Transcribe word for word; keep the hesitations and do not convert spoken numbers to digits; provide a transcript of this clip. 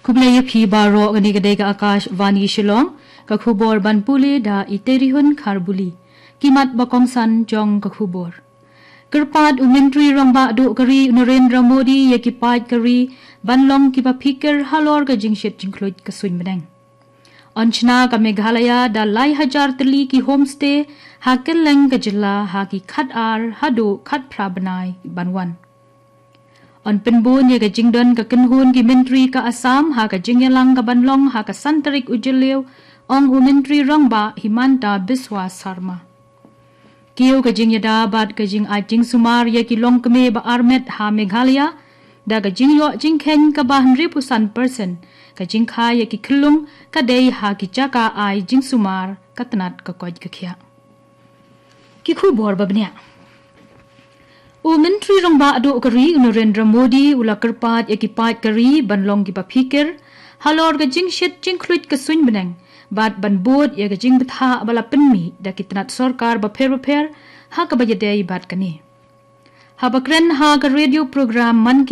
Khublei ïa phi baroh, kane ka dei ka Akashvani Shillong, ka khubor ban pule da i Terihun Kharbuli. Ki mat ba kongsan jong ka khubor. Kyrpad u Myntri Rangbah Duh ka ri u Narendra Modi ïa ki paid ka ri ban long kiba phikir halor ka jingshit jingkhluit ka suiñ bneng. Yn shna ka Meghalaya da lai hajar tylli ki homestay ha kylleng ka jylla ha ki khatar haduh khatphra bnai ban wan. Yn pynbun ïa ka jingdon ka kynhun ki myntri ka Assam ha ka jingïalang ka ban long ha ka san tarik u Jylliew, ong u Myntri Rangbah Himanta Biswa Sarma. Kiew ka jingïada bad ka jingaid jingsumar ïa ki longkmie ba armet ha Meghalaya da ka jingïoh jingkheiñ kaba hynriewphew san percent, ka jingkha ïa ki khyllung ka dei ha ki jaka ai jingsumar ka tnat ka koit ka khiah. Ki khubor ba bniah. U Myntri Rangbah Duh ka ri u Narendra Modi u la kyrpad ïa ki paid ka ri ban long kiba phikir halor ka jingshit jingkhluit ka suiñ bneng bad ban bud ïa ka jingbthah ba la pynmih da ki tnat sorkar bapher bapher ha kaba ïadei bad kane. Haba kren ha ka radio program Mann Ki